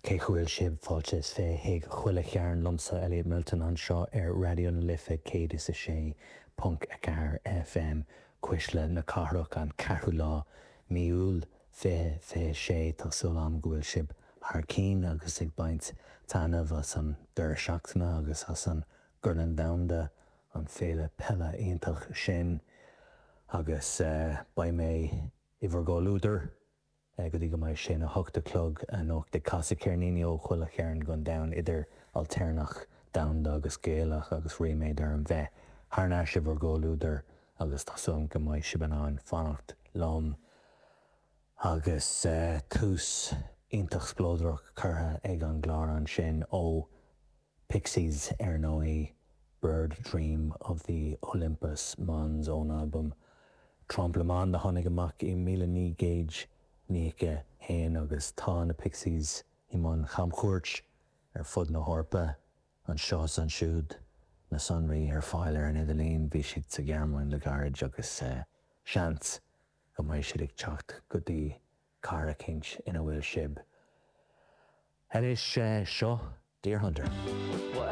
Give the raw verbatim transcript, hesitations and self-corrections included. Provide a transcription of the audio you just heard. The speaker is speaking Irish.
Cén chaoi a bhfuil sibh fáilte is fiche chuig chuile chearn liomsa Elliot Milton anseo ar Raidió na Life céad is a sé ponc a ceathair FM Cuisle na Cathrach an ceathrú lá mí Iúil fiche fiche sé tá súil agam go bhfuil sibh thar cinn agus ag baint taitneamh as an deireadh seachtaine agus as an gCorn Domhanda an féile peile iontach sin agus uh, beidh mé i bhur gcomhluadar go dtí go mbeidh sé a hocht a chlog anocht ag casadh ceirníní ó chuile chearn den domhan idir ailtéarnach domhanda agus Gaelach agus ríméad orm bheith thar n-ais i bhur gcomhluadar agus tá súil agam go mbeidh sibh in ann fanacht liom agus uh, tús iontach spleodrach curtha ag an gclár ansin ó Pixies ar ndóigh Bird Dream of the Olympus Mons ón album Trompe Le Monde a tháinig amach i míle naoi gcéad nócha haon agus tá na Pixies i mbun chamchuairt ar fud na hEorpa anseo is ansiúd na sonraí ar fáil ar an idirlíon bhí siad sa Ghearmáin le gairid agus uh, seans go mbeidh siad ag teacht go dtí cathair éicint ina bhfuil sibh. Anois uh, seo Deerhunter.